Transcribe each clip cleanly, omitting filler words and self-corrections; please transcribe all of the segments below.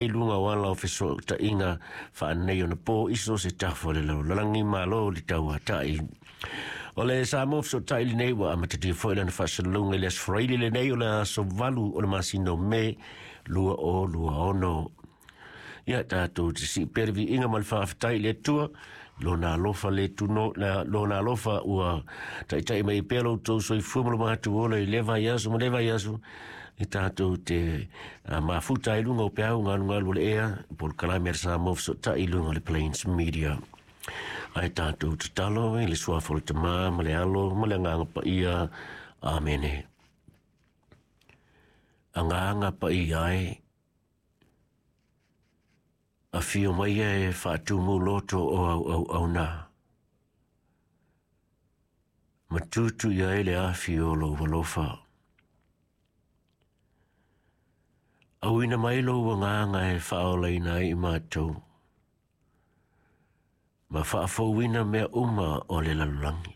I luga o ala o fesootaiga faaneionapo i so o se tafa o le lalolagi. Malo le tauatai. O le Samoa Fesootai lenei ua amatalia foi lana faasalalauga i le Aso Faraile lenei o le aso 8 o le masina o Me 2026. Ia tatou te sii pea le viiga ma le faafetai i le Atua i Lona alofa le tuno, Lona alofa ua taitai mai pea lo outou soifua ma lo matou ola i lea vaiaso ma lea vaiaso e tatou te mafuta ai luga o peau galugalu o le ea polokalame a le Samoa Fesootai i luga o le Plains Media. Ae tatou tatalo i le suafa o le Tama ma le Alo ma le Agaga Paia. Amene. Agaga Paia e, afio mai e faatumu loto o au auauna. Ma tutu i ai le afi o lou alofa. Auina mai lou agaga e faaolaina ai i matou, ma faafouina mea uma o le lalolagi.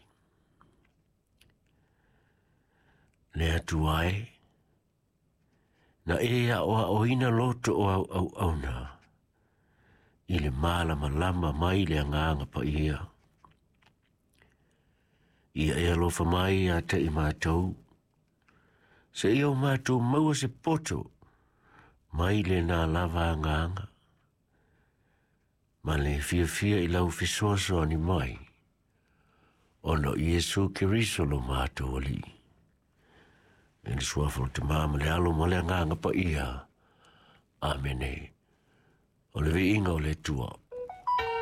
Le Atua e, na e aoaoina loto o au auauna i le malamalama mai le Agaga Paia. Ia e alofa mai ia te i matou, seia o matou maua se poto mai lena lava agaga, ma le fiafia i lau fesoasoani mai, ona o Iesu Keriso lo matou Alii. I le suafa o le Tama ma le Alo ma le Agaga Paia. Amene. O le viiga o le Atua.